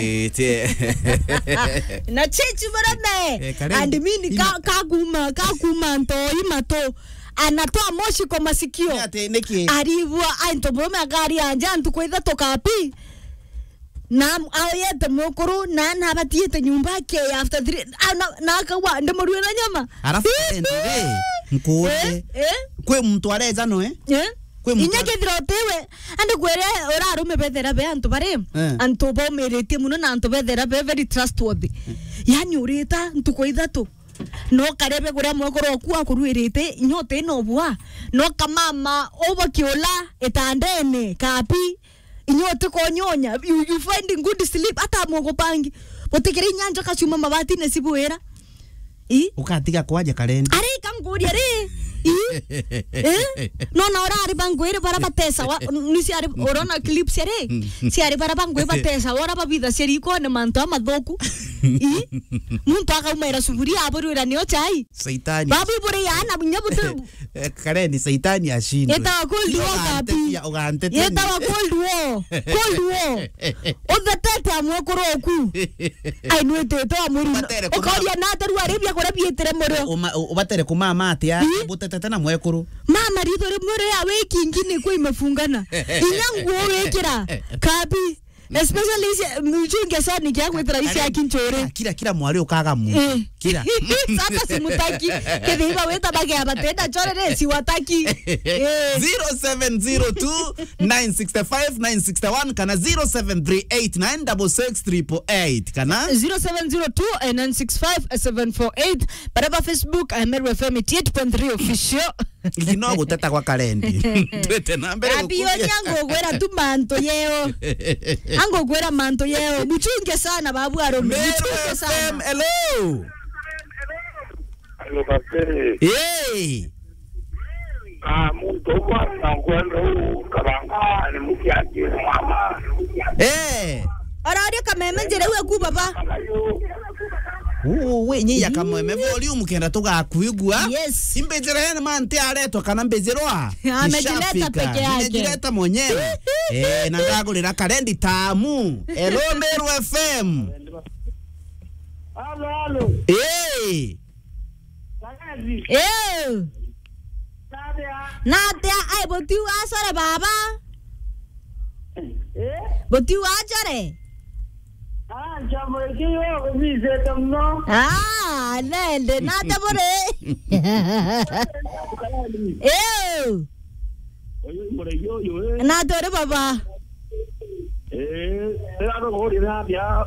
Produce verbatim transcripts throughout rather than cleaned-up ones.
Ite. Na chichi barame. Eh, Karen. And mimi ka, ka kuma, ka kuma ntoi mato. Anatoa moshi kwa masikio. Ni ati, niki? Aribua, ai, ntomurume akari anja, ntuku ithatu kapi. Na am-, aoyete mwekuru, na, na abatiete nyumba ake after three. Ah, na, na akawa, ndimurue na nyama. Arafu, eh, ndio, eh, nkuurie. Eh, eh. Kwi muntu areja no, eh? Eh? Kwi muntu inya are- kethira utiwe, andi kwere urarume bethera be antu bari, eh, antu baumiritie muno na antu bethera be very trustworthy. Eh. Yani urita ntuku ithatu. No karebe kuria mwekuru oku akuruirite, inya uti no bua. No kamama ubakiula itandene, kapi. Inya uti konyonya, you, you finding good sleep, ata mugupangi. Butikire inya njoka ciuma mabatine cibwira. I? Ukatiga kwaja Karen. Ari kanguria ri. I? Eh? No, na ora ari bangwire bara batesa wa, ni ciari, urona clips ari? Ciari bara bangwire batesa, ora babitha ciari ikone mantu amathuku. I? Muntu akaumaira suburia aburwira nio chai. Saitani. Babu bure yana bunya butu. Eh, Karen, Saitani ashindwe. Etawa Cold War kapi. Ugantetia, ugantetia. Yetawa Cold War. Cold War. Uthetete amwe kuroku. Ai, nwitite wa murimo. Ubatere kuma- ukoria na ateru ari bia kuria bietire murio. Uma-, u-, ubatere kumama atia, ii, butetete na mwekuru. Mama, ritho rimwe ria wiki ingine kwa imefungana. Inya nguo wikira. Kabi. Especially isi, mchunge sana kia gwitira isi ya kinchore. Kira, kira mwari ukaga mu. Eh. Kira. Sasa simutaki. Kethira iba weta bagea batenda chore re, siwataki. Eh. Zero seven zero two, nine six five, nine six one kana zero seven three eight, nine six six, triple eight kana zero seven zero two, nine six five, seven four eight. Baraba Facebook, eh, Meru F M eighty eight point three official. Iki no guteta gwa Karendi. Twete na mbere. Abi gukuria. Oni angugwira tu mantu yeo. Angugwira mantu yeo. Buchunge sana babu arume. Meru Buchunge sana. F M, hello. Hello, Kapere. Hey. Ah, muntu umwe na nkwenda u kabanga ni mukiangi mama. Eh. Ora ori kameme njira iwe ku baba. Uu, we, nyi ya kameme volume kenda tugakwigua. Yes. Imbijira ene manti aretwa kana mbijirwa. Amejileta peke yake. Nimejileta mwenyewe. Eh, na ndagurira Karendi tamu. Hello, Meru F M. Halo, halo. Eh. Kazi. Eh. Nadia. Nadia, ai, botiu asore baba. Eh? Botiu achore. Ah, njambo ikiyo, umizete mno. Ah, nende, nate bore. Eh. Uyu muregi uyu, eh. Nate uri baba. Eh, tira tuguurire atia?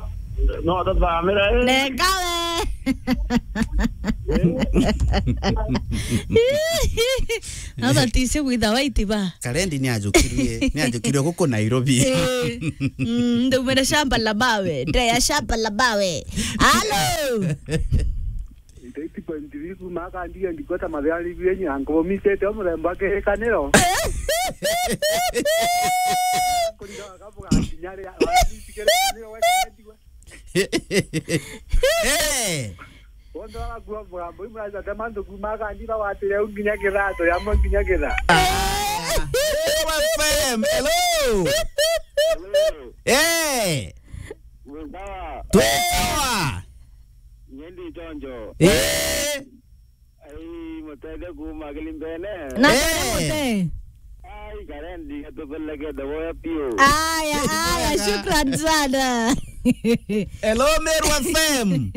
No tuthamire, eh. Neka we. Eh. Aba tisi gwitha waiti ba. Karendi ni ajukirie, ni ajukirie guku Nairobi. Eh. Mm, ndaumire shamba la mawe, ndeya shamba la mawe. Halo. Eighty point three kuma akandiga ndikweta mathiari bienyi, ankubumisete o murembo akirikaniro. Kuringa wakabuga kinyari, wakabuga kinyari, wakabuga. Eh. Wonde wagakua mugambo, imwe aca tema ntuku, makandi bagwatire au nginya kithatu, yamwe nginya kithatu. Ah. F M, hello. Hello. Eh. Mwi sawa? Twi sawa. Nyendi chonjo. Eh. Ai, mutete kuma Kilimbene. Na eh. Mute. Ai, Karendi, atupelekete boya piu. Aya, aya, shukran sana. Hello, Meru F M.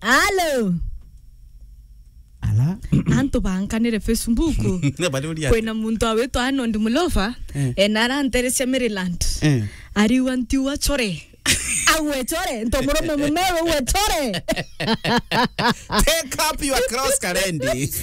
Halo. Ala. Antu bankanire Facebook. Bariuria. Kwina muntu awitwa Arnold Mulofa, eh, ena aranterecia Maryland. Eh. Ariwa ntiwa chore. Agwe chore, nto murume mumeru agwe chore. Take up your cross, Karendi.